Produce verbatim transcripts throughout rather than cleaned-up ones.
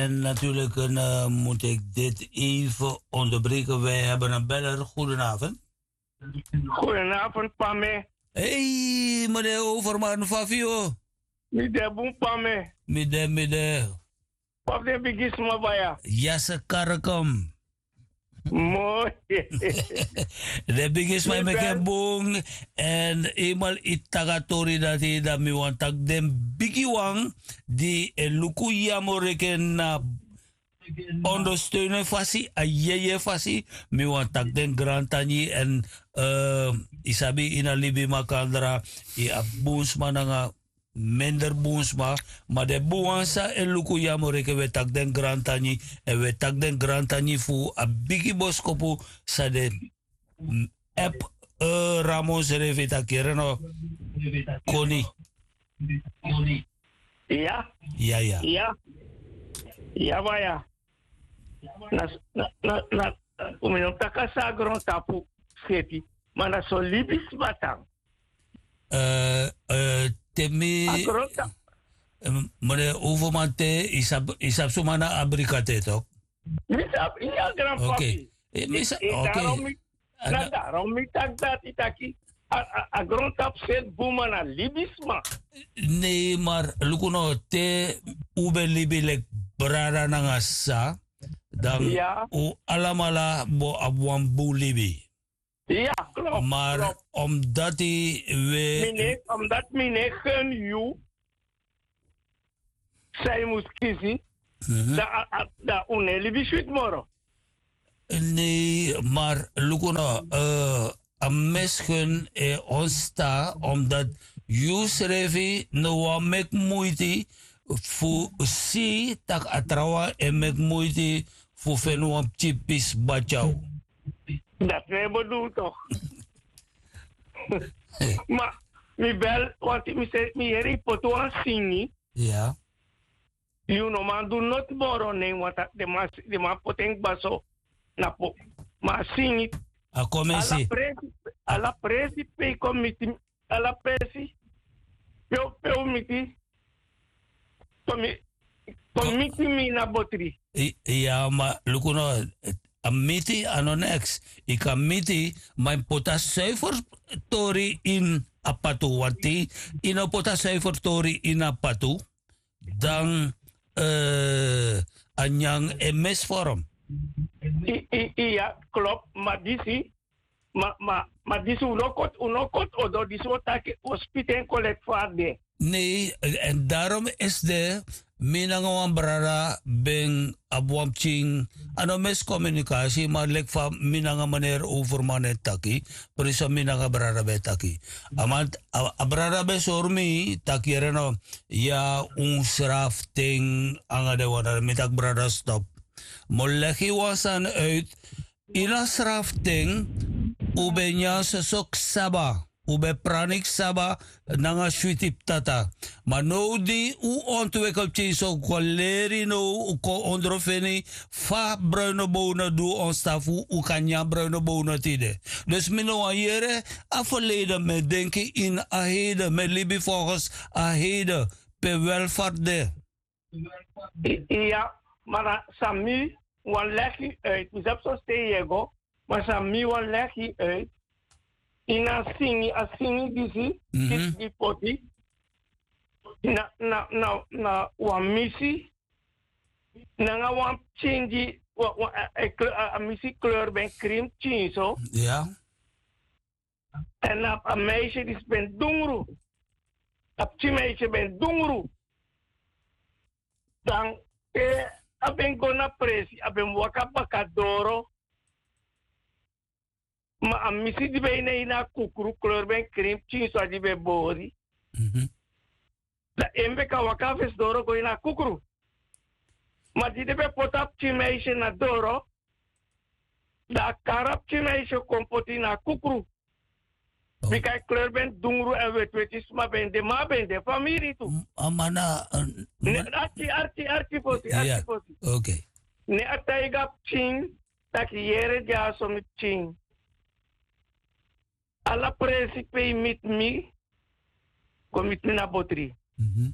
En natuurlik, eh, mut ik dit even onderbreken. Wij hebben een beller. Goedenavond. Goedenavond, Pame. Hey, meneer Overman, fa fu yu? Mi de bun, Pame. Mi de, mi de. Pap, den bigisma baya. Yase karikom. Moi. Den bigisma e meki en bun. En eenmaal yu taki a tori dati, dan mi wani taki den bigiwan di e luku yu a moreken na ondersteunen fasi, a yeye fasi. Mi wani taki den grantangi en, eh, yu sabi, ini a libi makandra, yu abi bun sma nanga minder bun sma. Ma den bun wan san e luku yu a moreken, wi e taki den grantangi. En wi e taki den grantangi fu a bigi boskopu san den, mm, app, eh, Ramon srefi, taki yere no, Koni. Iya. Iya, iya. Iya. Iya, baya. Na, na, na, na, un no taki san a grontapu seti. Ma na so libisma tan. Eh, eh, te mi, a grontapu, eh, meneer Overman, te yu sabi, yu sabi suma na Abrika te, toch? Mi sabi, iya, granpapi. Oké. Eh, mi sa-, oké. Daarom mi, na daarom mi taki dati, taki a, a, a grontapu seti bun, ma na libisma. Nee, maar luku no, te un ben libi leki brada nanga sisa, dan un alamala bo abi wan bun libi. Ya, klopt, maar klopt. Omdat wi, mi ne, omdat mi ne gun yu san yu mus kisi, dan, dan un no e libi switi moro. Nee, maar luku no, eh, a misgun e ontstaan omdat yu srefi no wani meki moeite fu si tak' a trawan e meki moeite fu feni wan pikin pisi bati na yu. Dati mi e bedoel toch. Ma mi bel, want mi se, mi yere yu poti wan singi. Ya. Yu no man du noti moro, ne, want den man, den man poti en kba so na po. Ma a singi, a kon miti, ala presi, ala presi pe yu kon miti, ala presi pe un, pe un miti. Kon mi, kon miti mi na botri. I-, ya, ma luku no, a miti a no neks. Yu kan miti, ma yu mus poti a zuiver tori ini a patu. Want te yu no poti a zuiver tori ini a patu, dan, eh, a nyan e misvorm. I, i, i, ya, klopt, ma disi, ma, ma, ma disi un no koti, un no koti odo, disi un o taki, un o spiti en kon leki fa a de. Nee, en daarom is de, mi nanga wan brada ben abi wan pikin, a no miscommunicatie, ma leki fa mi nanga meneer Overman e taki, precies mi nanga brada ben e taki. A man, a, a brada ben sori mi, taki yere no, ya, un srafu ten nanga den wan, dan mi taki brada stop. Mi o legi wan sani uit, ini a srafu ten, un ben nyan soso ksaba, un ben prani ksaba nanga switi ptata. Ma now di un ontwikkel pikin so, un kon leri now, un kon ondro feni fa bruine bonen du ontstaan fu un kan nyan bruine bonen tide. Dus mi no wani yere a verleden, mi e denki ini a heden, mi e libi volgens a heden, pe welvaart de. I-, iya, ma na san mi wani legi uit, mi sabi so stei yu e go, ma san mi wani legi uit, ini a singi, a singi disi, disi di poti, na, na, na, na wan misi, nanga wan pikin di, wa-, wa-, a, a, a, a misi kleur ben krin pikin so. Ya. En a, a meisje disi ben dungru. A pikin meisje ben dungru. Dan te a ben go na presi, a ben waka baka doro. Ma a misi di ben ini a kukru, kleur ben krin pikin so, a di ben bori. Mhm. Dan en ben kan waka fesi doro go ini a kukru. Ma di den ben poti a pikin meisje na doro, dan a kari a pikin meisje kon poti na a kukru. Oh. Bika a kleur ben dungru, èn wetiweti sma ben de, ma a ben de famiri tu. M-, a man na, eh, ne, ma- arki, arki, arki fosi, arki fosi. Oké. Ne a taigi a pikin taki yere dyaso, mi pikin. Ala presi pe yu miti mi, kon miti mi na botri. Mhm.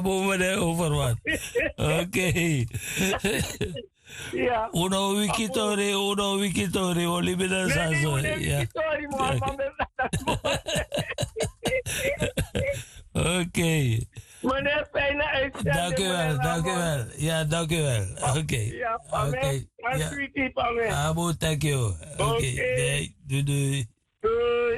Abu mene overwat. Oké. Uno wikitori uno wikitori oli bina saso. Oké. Dankuwel, dankuwel. Ya dankuwel. Oké. Oké. Abu, dankuwel. Oké. Dei dudui.